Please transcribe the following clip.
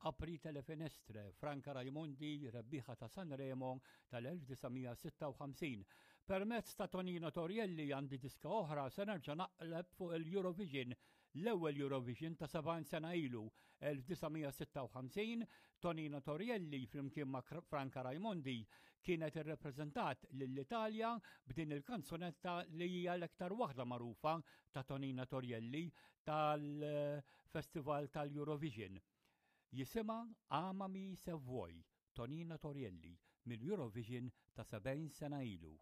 Aprite le finestre, Franca Raimondi, rebbieħa ta' Sanremo tal-1956. Permezz ta' Tonino Torrielli għandi diska oħra se nerġa' naqleb fuq il-Eurovision, l-ewwel Eurovision ta' 70 sena ilu, 1956, Tonino Torrielli flimkien ma' Franca Raimondi kienet irrepreżentat lill-Italja b'din il-kanzunetta li hija l-aktar waħda magħrufa ta' Tonino Torrielli tal-Festival tal-Eurovision. Jisimha Amami se vuoi, Tonino Torrielli, mill-Eurovision ta' 70 sena ilu.